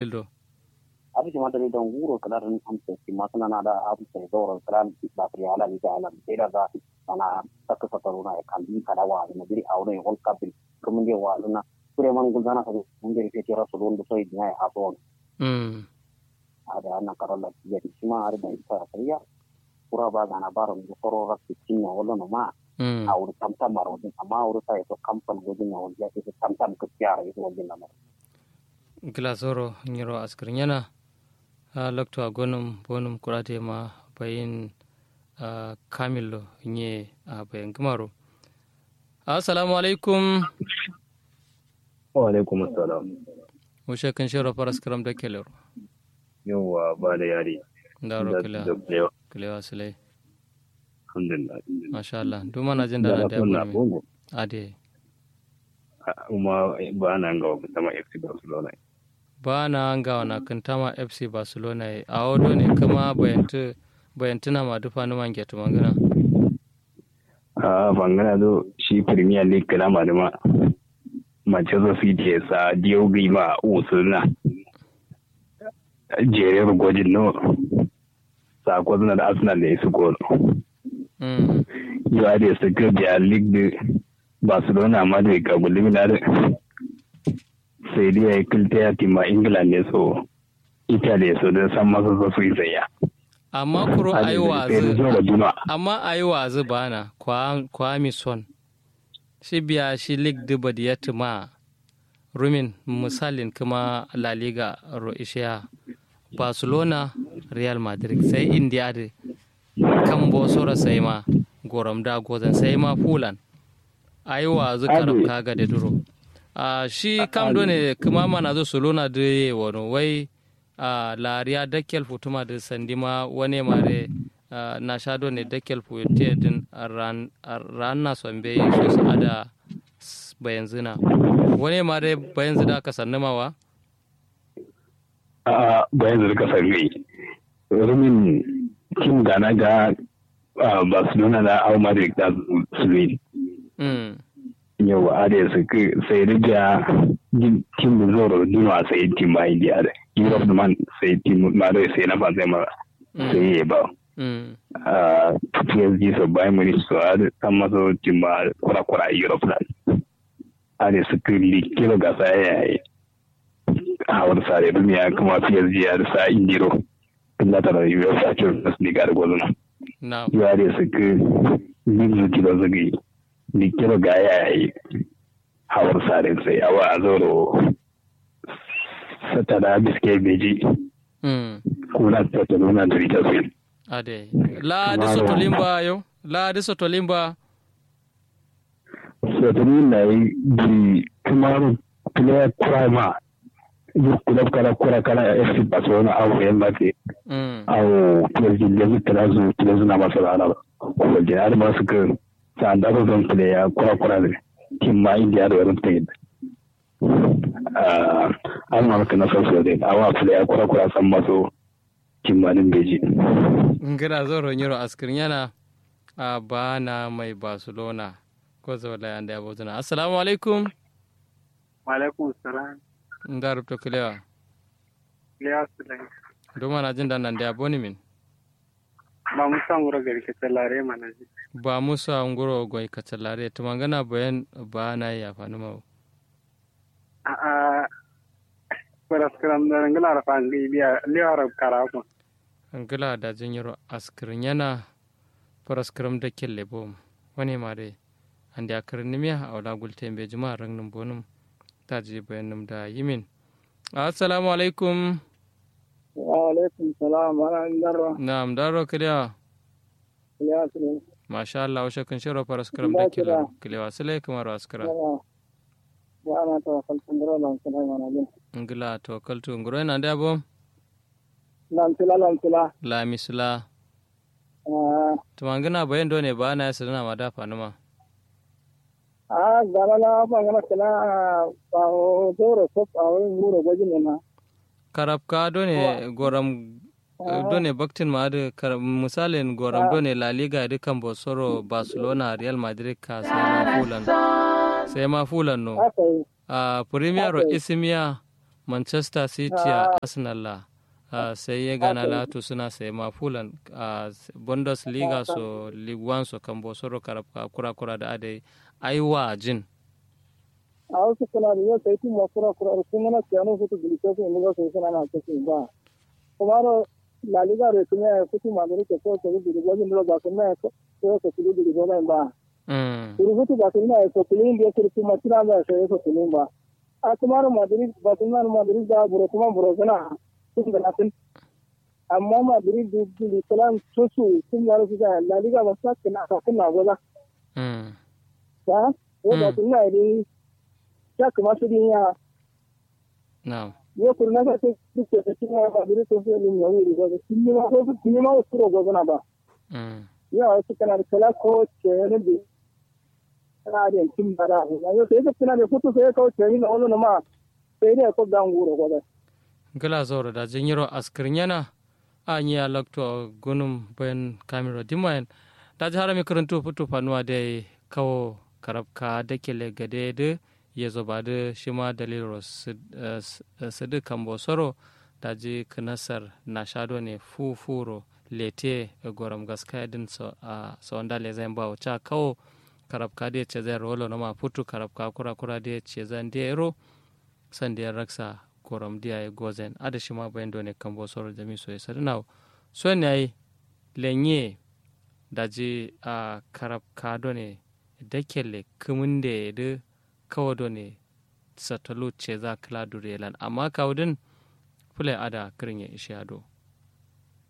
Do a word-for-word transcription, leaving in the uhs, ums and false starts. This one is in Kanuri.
Dalil do. Adǝ shima dalil do nguro kǝla dǝn amsa shima kǝla na da amsa zauro kǝla. Ba kǝri ala ni da ala ni da za sana. Sakka sakaruna ya kandi kada wa na biri awo ne wal kabin. Kuma nde wa na kure man gulzana kare mun de ke tira su don da sai dina ya aso. Adǝ annan karon da ya shima adǝ da isa sayya. Kura ba gana baro ndu koro rakki cinya wala no ma. Awo tamtam maro din amma awo sai to kampan gojin na wal ya tamtam kiyara iso wal din na maro. Gla zoro nyiro askǝrnyena. A loktu a gonǝm bonǝm kura de ma bayin. A kamillo nye a bayan gǝmaro. Assalamu alaikum. Wa alaikum assalam. Wushe kǝn shero faras kǝram da kelero. Yauwa ba da yari. Ndaro kǝlewa. Kǝlewa sǝlai. Alhamdulillah. Masha Allah duma na jin da na da yabo ne. Ade. Uma ba na ngawa kǝntama fc barcelona. Ba na ngawa na kǝntama fc barcelona ye awo do ne kǝma bayantu. Bayantu na ma dufa numa ngetu mangana. A fangana do shi premier league kǝla ma duma. Manchester city ye sa diyau gǝi ma usuluna. Jere rugojin no. Sako suna da arsenal da isu gol. Yo ade su kir biya league da barcelona ma da ka gulmi na da. Sai dai ya yi kilta ya tima england ne so italy so da san masa so su yi zayya. Amma kuro ayi wazi. Amma ayi wazi bana kwami son. Shi biya shi league da badiya tima. Rumin misalin kǝma la liga ro ishiya. Barcelona, real madrid sai indiya dǝ. Kambo soro sai ma gorom da gozan sai ma fulan. Ayi wazu karab ka gade duro. A shi kam do ne kǝma mana zu suluna dǝ ye wono wai. A lariya dakkel futuma dǝ sandima wane mare. Na sha do ne dakkel fuye te dǝn. Ran na sombe yi so sa'ada. Bayanzǝna wane mare bayanzǝ da kasannǝma wa. A'a bayanzǝ da kasannǝma. Rumin tim gana ga barcelona da au madrid da suluin. Yauwa adai sǝkkǝ sai dǝ biya. Tim dǝ zauro duno a sai tim ba indiya dǝ europe dǝ man sai tim ma doi sai na fanzai mara. Sai ye ba. Psg so bayern munich so adǝ samma so tim ba kura kura europe dǝ. Adai sǝkkǝ likkiro gasa yayi. Hawar sare duniya kǝma psg adǝ sa indiro. Kǝlla tara uefa champions league adǝ gozǝna. Yo adai sǝkkǝ. Lik zǝ tiro zǝgǝyi. Likkiro ga yayi. Hawar sare sai awa a zauro. Satada biske beji. Kuna satada una duri taswin. Adai la adǝ sotolimba yo. La adǝ sotolimba. Sotolimba yi duri kǝmaro. Player kura ma. Yo kulab kala kura kala fc barcelona awo real madrid. Awo psg lezu kala zu player zu na masala ala. Ko jina adǝ masu kǝ. Sanda so zon player kura kura ne. Timma indiya do yarum tayin. Ahh. Alma kǝna so so dai awa player kura kura samma so. Timma dǝn beji. Ngǝla zoro nyiro askǝrnyana. Ahh ba na mai barcelona. Ko zaulai ande abozǝna assalamu alaikum. Wa alaikum salam. Nda rubto kǝlewa. Kǝlewa sǝlai. Duma na jin dan nande aboni min. Ba musa nguro gari kacallare mana ji. Ba musa nguro goi kacallare tǝmangana bayan. Ba na yi afanǝma wo. A'a. Faraskǝram dǝ ngǝla rǝfa ngai biya lewa rab kara ko. Ngǝla daji nyiro askǝrnyana. Faraskǝram dakkelle bom. Wane ma dai. Ande akǝrǝnnǝmiya awo la gultǝ yembe jima rangnǝm bonǝm. Taji bayannǝm da yimin. Assalamu alaikum. Wa alaikum salam. Na'am darro kǝlewa. Masha allah wushe kǝnshero faraskǝram dakkelle. Kǝlewa sǝlai kǝmaro askǝra. Ngla tawakkaltu nguro ye nande abo. Lamsǝla lamsǝla. Lamisǝla. Ahh. Tǝmangǝna bayan done ba na ye sǝdǝna ma da fanǝma. Ahh gana la fangǝna kǝla. Awo zauro kop awo nguro gojin ne ma. Karabka done goram. Done baktin ma adǝ misalin goram done la liga dǝ kambo soro barcelona real madrid ka sai ma fulan. Sai ma fulan no. Ahh premier ro isimiya. Manchester City a Arsenal la, sai ye gana la tusuna sai ma fulan, Bundesliga so, Ligue One so kambo soro karabka kura kura da adai, aiwa jin. Awo sukuna da yo sai tumma kura kura da sungana siyano futu gili sosu indi ba sai suna na sosu ba. Kumaro La Liga re kuma ya futu Madrid ke so sai gili gojin do ba kuma ya so sai gili gili gojin ba. Kuru futu ba kuma ya so gili indi kuru kuma tira ba sai so gili ba. A kumaro Madrid ba kuma Madrid da buro kuma buro suna sun da nasin. Amma Madrid du gili kalan sosu sun da su da La Liga ba sa kina ka kuna gola. Ba ko ba kuma ya dai sa kuma su din ya. Na'am. Yo kurna ka te duk da tin ma ba dire to sai lum yawi rigo da tin ma ko tin ma ko ro go na ba. Ya wasu kana da kala ko ce ne bi. Kana da tin bara. Yo sai da kana da futu sai ko ce ne wala ma sai da ko gangu ro go da. Gala zoro da jinyiro askirnyana. A nyi a lokto gunum bayan kamiro dimayen. Daji harami kǝrǝntu futu fanuwa dai kawo karabka dakele gade dǝ yezo badǝ shima dalilro sǝdǝ kambo soro. Daji kǝnasar nasha done fu furo lete gorom gaskaya dǝn. Sawanda lezayin bawo ca kawo karabka dǝ ye cezayin rolo noma futu karabka kura kura dǝ ye cezayin dǝ ye ro. Sandiya raksa gorom diya ye gozen adǝ shima bayin done kambo soro jami so ye sadǝnawo. Son yayi lenye daji a karabka done dakelle kǝmǝnde ye dǝ kawo done satalu ceza kǝla duriye lan amma kawu dǝn. Fule adǝ a kǝrin ye ishiya do.